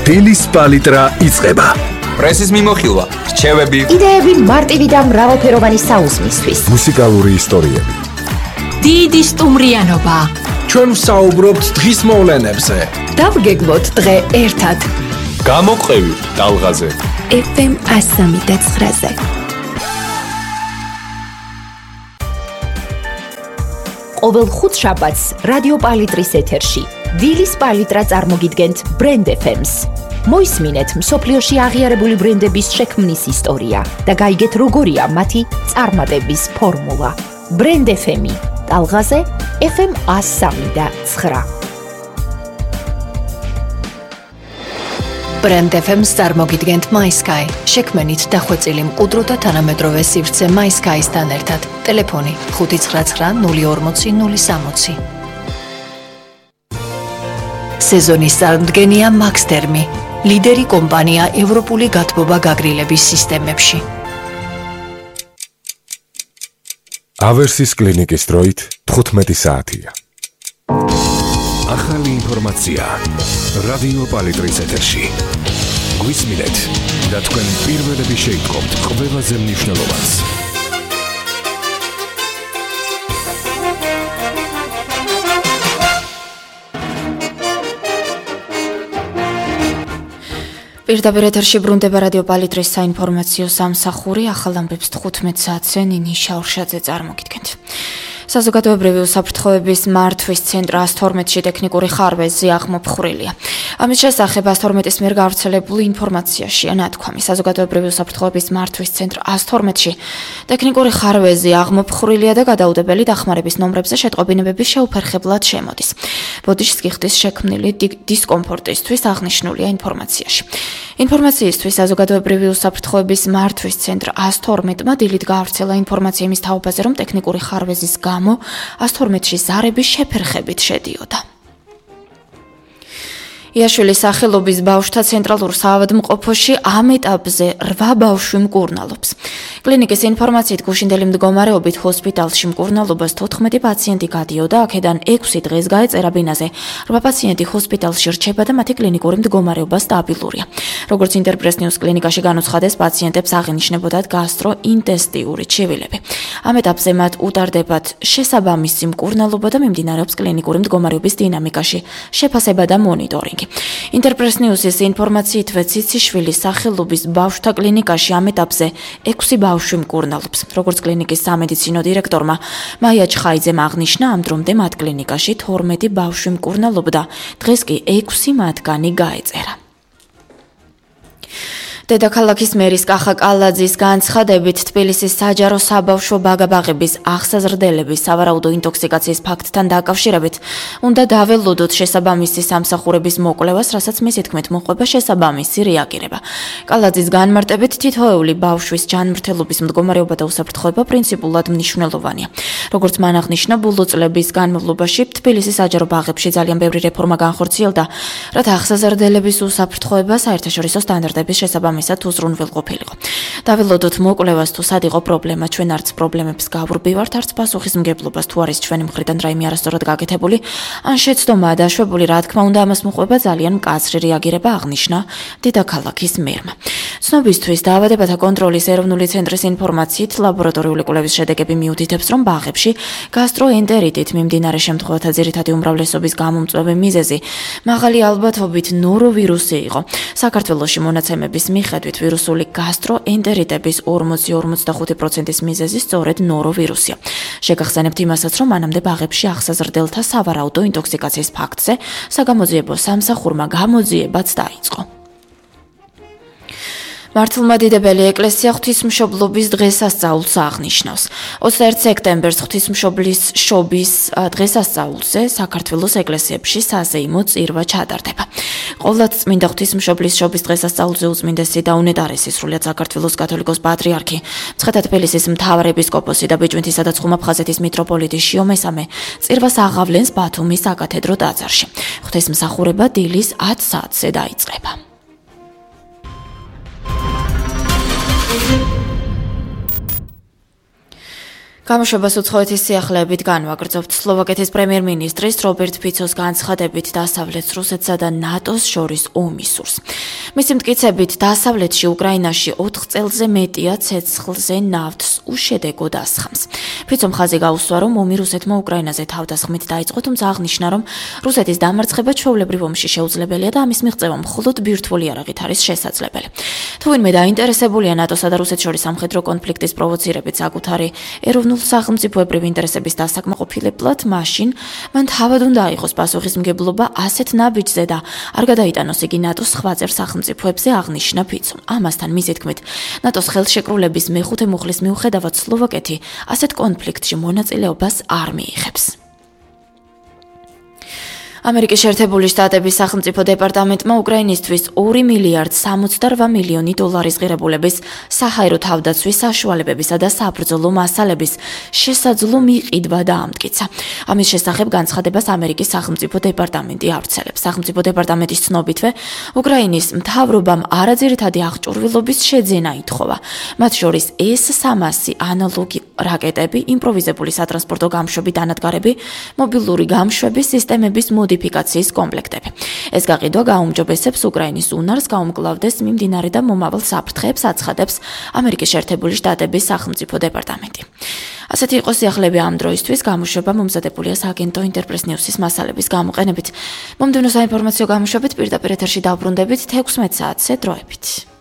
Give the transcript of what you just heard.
დილის პალიტრა იწყება. პრესის მიმოხილვა, რჩევები, იდეები მარტივი და მრავალფეროვანი საუზმისთვის. მუსიკალური ისტორიები. დიდი სტუმრიანობა. ჩვენ ვსაუბრობთ დღის მოვლენებზე. დავგეგმოთ დღე ერთად. გამოყევი ტალღაზე. FM 103.9-ზე. ყოველ ხუთშაბათს რადიო პალიტრის ეთერში დილის პალიტრა წარმოგიდგენთ ბრენდ FM-ს. მოისმინეთ მსოფლიოში აღიარებული ბრენდების შექმნის ისტორია და გაიგეთ როგორია მათი წარმატების ფორმულა. ბრენდ FM-ი ტალღაზე FM 103.9. ბრენდ FM-ს წარმოგიდგენთ MySky. შექმნით დახვეწილი მყუდრო და თანამედროვე სივრცე MySky-სთან ერთად. ტელეფონი 599 060 060. სეზონის წარმდგენია Maxtermi, ლიდერი კომპანია ევროპული გათბობა გაგრილების სისტემებში. ავერსის კლინიკის დროით 15 საათია. ახალი ინფორმაცია რადიო პალიტრის ეთერში. გვისმინეთ და თქვენ პირველები შეიტყობთ ყველაზე მნიშვნელოვანს. პირდაპირ ეთერში ბრუნდება რადიო პალიტრის საინფორმაციო სამსახური. ახალ ამბებს 15 საათზე ნინი შაურშაძე წარმოგიდგენთ. საზოგადოებრივი უსაფრთხოების მართვის ცენტრ 112-ში ტექნიკური ხარვეზი აღმოფხვრილია. ამის შესახებ 112-ის მიერ გავრცელებული ინფორმაციაშია ნათქვამი. საზოგადოებრივი უსაფრთხოების მართვის ცენტრ 112-ში ტექნიკური ხარვეზი აღმოფხვრილია და გადაუდებელი დახმარების ნომრებზე შეტყობინებები შეუფერხებლად შემოდის. ბოდიშს კი ხდის შექმნილი დისკომფორტისთვის აღნიშნულია ინფორმაციაში. ინფორმაციისთვის საზოგადოებრივი უსაფრთხოების მართვის ცენტრ 112-მა დილით გაავრცელა ინფორმაცია იმის თაობაზე, რომ ტექნიკური ხარვეზის გამო 112-ში ზარების შეფერხებით შედიოდა. იაშვილის სახელობის ბავშვთა ცენტრალურ საავადმყოფოში ამ ეტაპზე 8 ბავშვი მკურნალობს. კლინიკის ინფორმაციით გუშინდელი მდგომარეობით ჰოსპიტალში მკურნალობას 14 პაციენტი გადიოდა, აქედან 6 დღეს გაეწერა ბინაზე. 8 პაციენტი ჰოსპიტალში რჩება და მათი კლინიკური მდგომარეობა სტაბილურია. როგორც ინტერპრეს ნიუს კლინიკაში განუცხადეს, პაციენტებს აღინიშნებოდათ გასტროინტესტიური ჩივილები. ამ ეტაპზე მათ უტარდებათ შესაბამისი მკურნალობა და მიმდინარეობს კლინიკური მდგომარეობის დინამიკაში შეფასება და მონიტორინგი. ინტერპრეს ნიუსის ინფორმაციითვე ციციშვილის სახელობის ბავშვთა კლინიკაში ამ ეტაპზე 6 ბავშვი მკურნალობს. როგორც კლინიკის სამედიცინო დირექტორმა მაია ჩხაიძემ აღნიშნა, ამ დრომდე მათ კლინიკაში 12 ბავშვი მკურნალობდა, დღეს კი 6 მათგანი გაეწერა. დედაქალაქის მერის კახა კალაძის განცხადებით, თბილისის საჯარო საბავშვო ბაგაბაღების აღსაზრდელების სავარაუდო ინტოქსიკაციის ფაქტთან დაკავშირებით უნდა დაველოდოთ შესაბამისი სამსახურების მოკვლევას, რასაც მისი თქმით მოყვება შესაბამისი რეაგირება. კალაძის განმარტებით, თითოეული ბავშვის ჯანმრთელობის მდგომარეობა და უსაფრთხოება პრინციპულად მნიშვნელოვანია. როგორც მან აღნიშნა, ბოლო წლების განმავლობაში თბილისის საჯარო ბაღებში ძალიან ბევრი რეფორმა განხორციელდა, რათა აღსაზრდელების უსაფრთხოება საერთაშორისო სტანდარტების შესაბამისად უზრუნველყოფილიყო. დაველოდოთ მოკვლევას, თუ სად იყო პრობლემა, ჩვენ არც პრობლემებს გავვრბივართ, არც პასუხისმგებლობას, თუ არის ჩვენი მხრიდან რაიმე არასწორად გაკეთებული, ან შეცდომაა დაშვებული, რა თქმა უნდა, ამას მოყვება ძალიან მკაცრი რეაგირება, აღნიშნა დედაქალაქის მერმა. ცნობისთვის, დაავადებათა კონტროლის ეროვნული ცენტრის ინფორმაციით, ლაბორატორიული კვლევის შედეგები მიუთითებს, რომ ბაღებში გასტროენტერიტით მიმდინარე შემთხვევათა ძირითადი უმრავლესობის გამომწვევი მიზეზი მაღალი ალბათობით ნოროვირუსი იყო. საქართველოში მონაცემების მიხედვით ვირუსული გასტროენტერიტების 40-45%-ის მიზეზი სწორედ ნოროვირუსია. შეგახსენებთ იმასაც, რომ მანამდე ბაღებში აღსაზრდელთა სავარაუდო ინტოქსიკაციის ფაქტზე საგამოძიებო სამსახურმა გამოძიებაც დაიწყო. მართლმადიდებელი ეკლესია ღვთისმშობლობის დღესასწაულს აღნიშნავს. 21 სექტემბერს ღვთისმშობლის შობის დღესასწაულზე საქართველოს ეკლესიებში საზეიმო წირვა ჩატარდება. ყოვლად წმინდა ღვთისმშობლის შობის დღესასწაულზე უწმინდესი და უნეტარესი სრულიად საქართველოს კათოლიკოს პატრიარქი, მცხეთა-თბილისის მთავარეპისკოპოსი და ბიჭვინთისა და ცხუმა-ფხაზეთის მიტროპოლიტი შიო მესამე წირვას აღავლენს ბათუმის საკათედრო ტაძარში. ღვთისმსახურება დილის 10 საათზე დაიწყება. გამოშვებას უცხოეთის სიახლეებით განვაგრძობთ. სლოვაკეთის პრემიერ-მინისტრის რობერტ ფიცოს განცხადებით დასავლეთ რუსეთსა და ნატოს შორის ომის სურს. მისი მტკიცებით, დასავლეთში უკრაინაში 4 წელზე მეტია ცეცხლზე ნავთს უშედეგოდ ასხამს. ფიცომ ხაზი გაუსვა, რომ ომი რუსეთმა უკრაინაზე თავდასხმით დაიწყო, თუმცა აღნიშნა, რომ რუსეთის დამარცხება ჩვეულებრივ ომში შეუძლებელია და ამის მიღწევა მხოლოდ ბირთვული იარაღით არის შესაძლებელი. თუ ვინმე დაინტერესებულია ნატოსა და რუსეთს შორის სამხედრო კონფლიქტის პროვოცირებით საკუთარი ეროვნულ სახელმწიფოებრივ ინტერესების დასაკმაყოფილებლად, მაშინ მან თავად უნდა აიღოს პასუხისმგებლობა ასეთ ნაბიჯზე და არ გადაიტანოს იგი ნატოს სხვა წევრ სახელმწიფოებზე, აღნიშნა ფიცომ. ამასთან მისი თქმით, ნატოს ხელშეკრულების მეხუთე მუხლის მიუხედავად სლოვაკეთი ასეთ კონფლიქტში მონაწილეობას არ მიიღებს. ამერიკის შეერთებული შტატების სახელმწიფო დეპარტამენტმა უკრაინისთვის 2 მილიარდ 68 მილიონი დოლარის ღირებულების საჰაერო თავდაცვის საშუალებებისა და საბრძოლო მასალების შესაძლო მიყიდვა დაამტკიცა. ამის შესახებ განცხადებას ამერიკის სახელმწიფო დეპარტამენტი ავრცელებს. სახელმწიფო დეპარტამენტის ცნობითვე, უკრაინის მთავრობამ არაძირითადი აღჭურვილობის შეძენა ითხოვა. მათ შორის S-300 ანალოგი რაკეტები, იმპროვიზებული სატრანსპორტო გამშვები დანადგარები, მობილური გამშვების სისტემების მოდიფიკაციის კომპლექტები. ეს გაყიდვა გაუმჯობესებს უკრაინის უნარს გაუმკლავდეს მიმდინარე და მომავალ საფრთხეებს, აცხადებს ამერიკის შეერთებული შტატების სახელმწიფო დეპარტამენტი. ასეთი იყო სიახლეები ამ დროისთვის, გამოშვება მომზადებულია სააგენტო ინტერპრეს ნიუსის მასალების გამოყენებით. მომდევნო საინფორმაციო გამოშვებით პირდაპირ ეთერში დავბრუნდებით 16 საათზე დროებით.